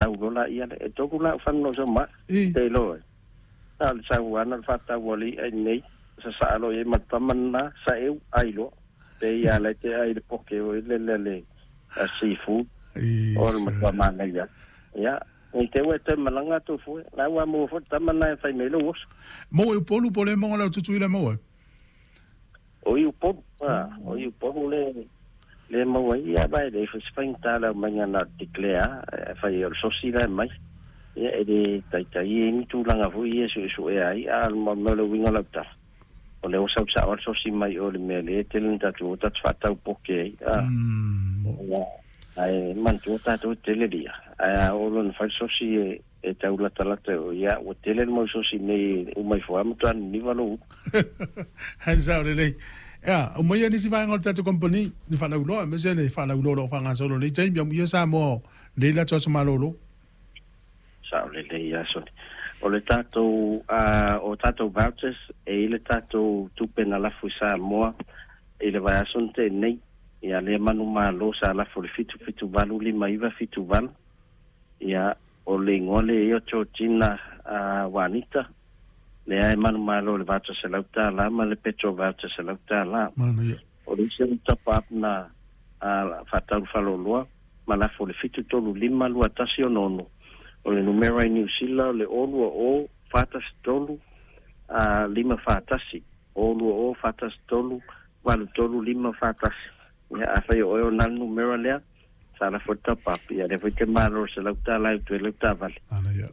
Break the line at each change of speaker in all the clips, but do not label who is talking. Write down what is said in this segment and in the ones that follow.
Tau loa laia lea. E tolu la au fanu na ou sau ma ai. Te iloa ai. Na o le sau lava na o le faatau o le i'a i inei, sasaa loa i ai ma le tama lena, saeu, ai loa. Pei lava la e te ai i le poke foi lele a le seafood, o le matua manaia. Ia, nei te i ua e toe malaga atu fua, la ua maua foi le tama lena e fai mai ai lou oso.
Maua i Upolu po o le maua lau Tutuila e maua ai?
O i Upolu, a, o i Upolu le le maua ai, ia aua e leai foi se faigata le aumaiga na o le declare lava, afai o le sosi la e aumai, ia e le taitai i ai ni tulaga foi ia e suesuea ai, a o le mea o le uiga o lau tala, o lea ua sau sao lava le sosi mai o i le mea lea e tele ina tatou o tatou faatau poke ai, a, ia, ae manatua tatou e tele le i'a, ae a oo loa ina fai le sosi e tau latalata i o, ia, ua tele le mau sosi nei e uma ifo lava matua niniva lou ulu.
Ae sao lelei. Ea, aumaia nisi vaega o le tatou company ni faalauiloa, aemaise le faalauiloa o lo o faagasolo i lenei taimi, amuia Samoa o lenei latou aso malolo.
Sao lelei lava Sonny. O le tatou o tatou vouchers e i le tatou tupe na lafo i Samoa i le vaiaso na tea nei, ia lea manumalo sa lafo i le 778578, ia o le igoa lea ia o Georgina Wanita, lea e manumalo i le voucher $100 ma le petrol voucher $100.
Manaia.
O le isi top up na faatau i faleoloa ma lafo i le 7352166. O le numera i Niu Sila o le 020 413 541, 020 413 83 541. Ia, afai o oe o na le numera lea, sa lafo i le top up, ia lea foi e te malo i le $100 e utu ai lau taavale.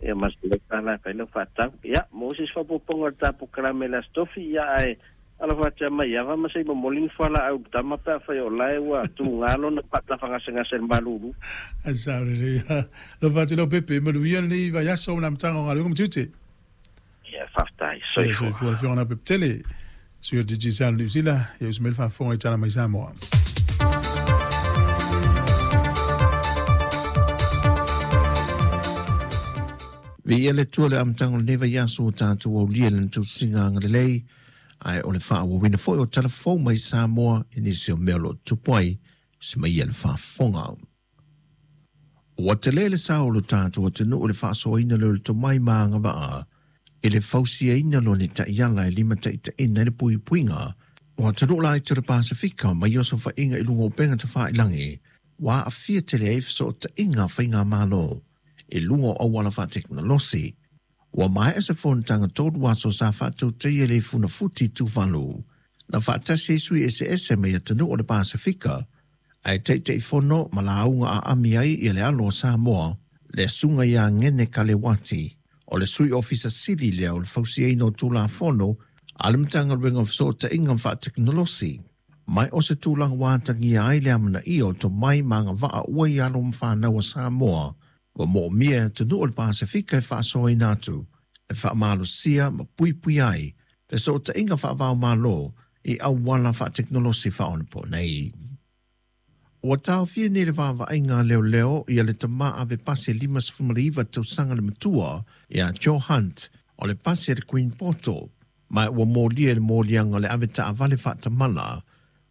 Ia ma le $100 e fai lau faatau. Ia, mo se isi faaopoopoga o le ta polokalame i le Aso Tofi, ia ae Alofa atu ia Maiava ma se i momoli ni fualaau i le tama pe afai o lae ua tuga lona faatafagasegase i le malulu.
Ae sao lelei. Alofa atu Leaupepe, manuia lenei vaiaso ma le amataga o galuega ma tiute.
Ia, faafetai. Soifua.
Soifua le Afioga Leaupepe tele. Sui o Digicel New Zealand, ia usu mai le faafofoga i Tala Mai Samoa.
Viia le Atua i le amataga o lenei vaiaso ua tatou aulia i lana tausiga agalelei, ae o le faaauauina foi o tala fou mai Samoa i nisi o mea o lo o tupu ai se maia le faafofoga. Ua tele le sao o lo tatou atunuu i le faasoaina lea o le tomai ma agavaa i le fausiaina loa ni taiala e limataitaiina ai le puipuiga o atunuu laiti o le Pasefika mai osofaiga i luga o upega tafailangi ua aafia tele ai fesootaiga a faigamalo i luga o auala faatekonolosi. Ua maea se fonotaga 3 aso sa faatautaia i le Funafuti i Tuvalu, na faatasi ai sui eseese mai atunuu o le Pasefika, ae Taitaifono ma lauga aami ai ia le alo o Samoa, le Susuga ia Ngene Kalewati, o le Sui Ofisa Sili lea o le Fausiaina o Tulafono a le Matagaluega o Fesootaiga ma Faatekonolosi. Mai o se tulaga ua atagia ai le amanaia o tomai ma agavaa ua i alo ma fanau a Samoa, ua moomia e atunuu o le Pasefika e faasoaina atu, e faamalosia ma puipuia ai fesootaiga faava-o-Malo i auala faatekonolosi faaonaponei. Ua taofia nei le vaavaaiga a leoleo ia le tama ave pasi 59 tausaga le matua ia Joe Hunt o le pasi a le Queen Poto, ma ua molia i le moliaga o le ave taavale faatamala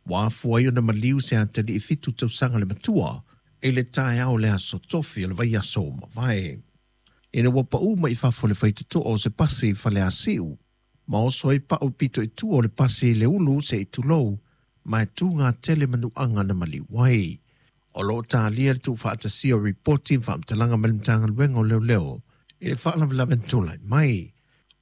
ua afua ai ona maliu se atalii 7 tausaga le matua i le taeao o le aso Tofi o le vaiaso ua mavae. Ina ua pau mai i fafo le faitotoa o se pasi i Faleasiu, ma oso ai pau pito i tua o le pasi i le ulu se i tulou, ma e tū tele manuaga na maliu ai. O lo o talia le tuufaatasia o ripoti ma faamatalaga mai le Matagaluega o Leoleo i le faalavelave na tulai mai.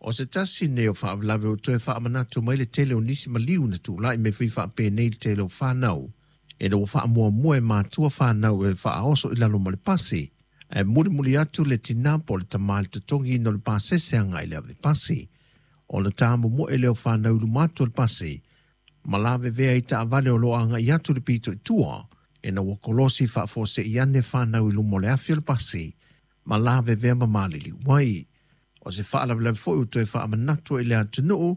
O se tasi nei o faalavelave ua toe faamanatu mai le tele o nisi maliu na tulai mai foi faapenei le tele o fanau, ina ua faamuamua e matua fanau e faaoso i lalo ma le pasi, ae mulimuli atu le tinā po o le tamā i le totogiina o le pasese agai i le ave pasi. Ona tāmomoe lea o fanau i luma atu o le pasi, ma lavevea i taavale o lo o agai atu le pito i tua, ina ua kolosi faafuasei ane fanau i luma o le afi o le pasi, ma lavevea ma maliliu ai. O se faalavelave foi ua toe faamanatu i le atunuu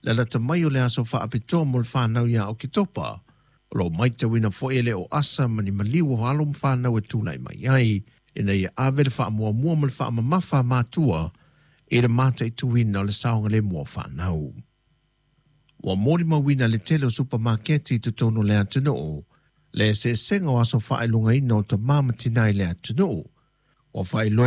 le lata mai o le aso faapitoa mo le fanau ia Oketopa. O lo o matauina foi e le o asa ma ni maliu o alo ma fanau e tulai mai ai, ina ia ave le faamuamua ma le faamamafa a matua i le mataituina o le saogalemu o fanau. Ua molimauina le tele o supamaketi i totonu o le atunuu le eseesega o aso faailogaina o tamā ma tinā i le atunuu. Ua faailoa